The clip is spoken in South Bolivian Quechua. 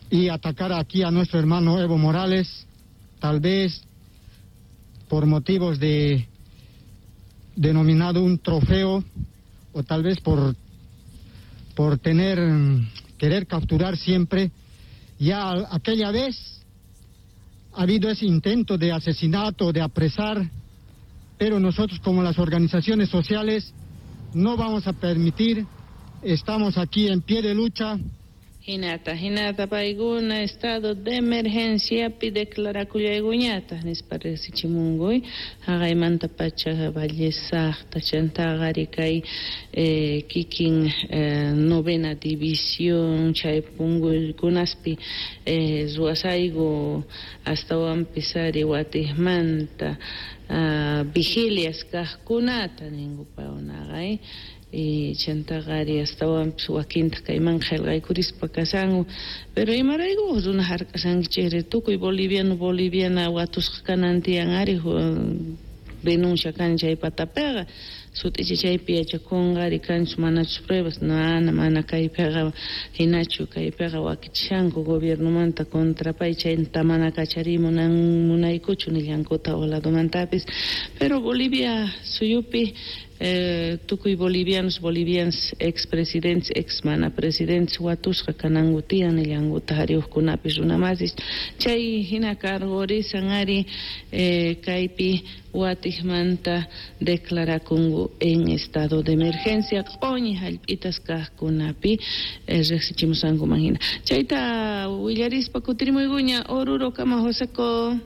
Y atacar aquí a nuestro hermano Evo Morales, tal vez por motivos de denominado un trofeo o tal vez por tener querer capturar siempre. Ya aquella vez ha habido ese intento de asesinato, de apresar, pero nosotros como las organizaciones sociales no vamos a permitir, estamos aquí en pie de lucha. Hinata, hinata paykuna estado de emergenciapi declarakullaykuñataj nispa riqsichimunkuy haqaymanta pacha Valle Sacta chantaqa ari kay eh, kikin eh, novena división chay punkuykunaspi eh, ruwasayku astawanpis ari watijmanta ah, vigilias kajkunata ninku paykunaqa eh. Y chantaqa ari astawanpis wakintaj kayman qhelqaykurispa kashanku pero imarayku runa hark'ashankichikri tukuy boliviano boliviana watusqa kanan tiyan ari denuncia kan chay patapiqa sut'icha chaypi yachakunqa ari kanchus manachus pruebas mana mana kaypiqa hinachu kaypiqa wakichishanku gobiernomanta contra pay chayta mana kachariy munan munaykuchu nillankuta ladomantapis pero Bolivia suyupi tukuy bolivianos, bolivianas, expresidentes, ex mana presidentes watusqa kananku tiyan nillankutaj ari ujkunapis runa masis chay jina cargorisan ari kaypi watijmanta declarakunku en estado de emergencia q'oñi jallp'itas kajkunapi rejsichimusqankuman jina chayta willarispa kutirimuykuña Oruro kama Joseco.